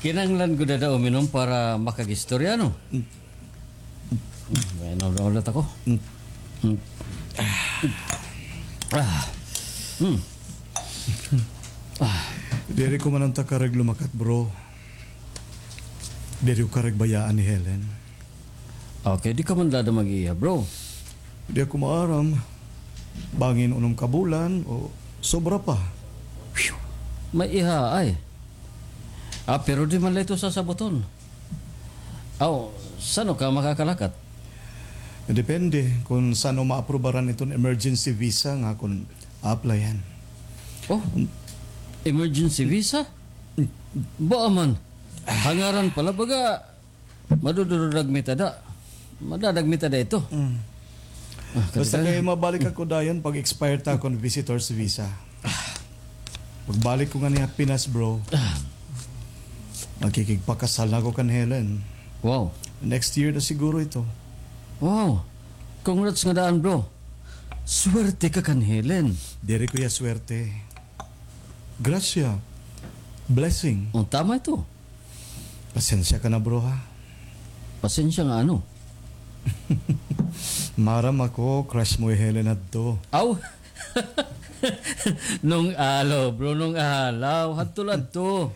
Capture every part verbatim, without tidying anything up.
Kinahanglan gud ada uminom para makag-istorya, no? Mm. May inom na ulit ako. Mm. Mm. Ah. Mm. Ah. Diri ko man unta karuyag lumakat, bro. Diri ko karuyag bayaan hi Helen. Okay, di ka man dada mag-iya, bro. Di ako maaram. Bangin unom ka bulan o sobra pa. May iha, ay. Ah, pero di man la ito sasabuton. Aw, san-o ka makakalakat? Depende kon san-o maaprubaran iton emergency visa nga akon a-applyan. Oh, emergency visa? Baa man. Hangaran pa la, baga, madudurog mi tada. Madadagmit tada ito. Mm. Ah, basta kadaghan. Kay mabalik ako dayon pag-expire ta akon visitor's visa. Pagbalik ko ngani ha Pinas, bro, ah, makikigpakasal na ako kan Helen. Wow. Next year na siguro ito. Wow. Congrats nga daan, bro. Swerte ka kan Helen. Diri ko iya swerte. Grasya. Blessing. Oh, tama ito. Pasensya ka na, bro, ha? Pasensya nga ano? Maaram ako, crush mo hi Helen hadto. Aw! Nung alaw, bro, nung alaw. Hadto la hadto.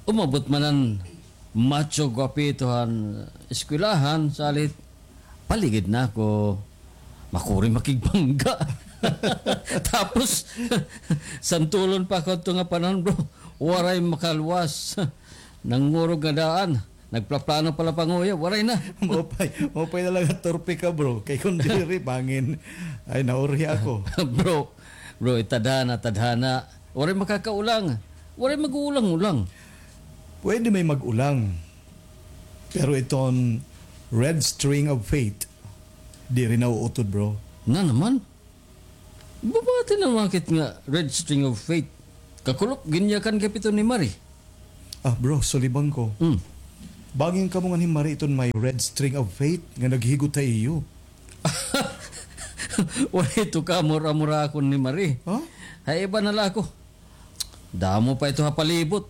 Umabot man an macho guwapito han eskwelahan, salit paligid na ako. Makuri makigbangga. Tapos, santulon pa ako adto nga panahon, bro. Waray makaluwas. Nangurog nga daan. Nagplaplano pa la panguyab. Waray na. Maupay, maupay na la nga turpe ka, bro. Kay kon diri, bangin. Ay, naurhi ako. Bro, bro, tadhana, tadhana. Waray makakaulang. Waray mag-uulang-ulang. Pwede may mag-ulang. Pero iton Red String of Fate, diri nauutod, bro. Na naman? Bumati na makit nga Red String of Fate. Kakulop, ginyakan ka pito ni Marie. Ah, bro, sulibang ko. Hmm. Bangin kamo ngan hi Marie iton may Red String of Fate nga naghigot ha iyo. Waray ito kamura-mura akon ni Marie. Ha? Hay iba na la ako. Damo pa ito ha palibot.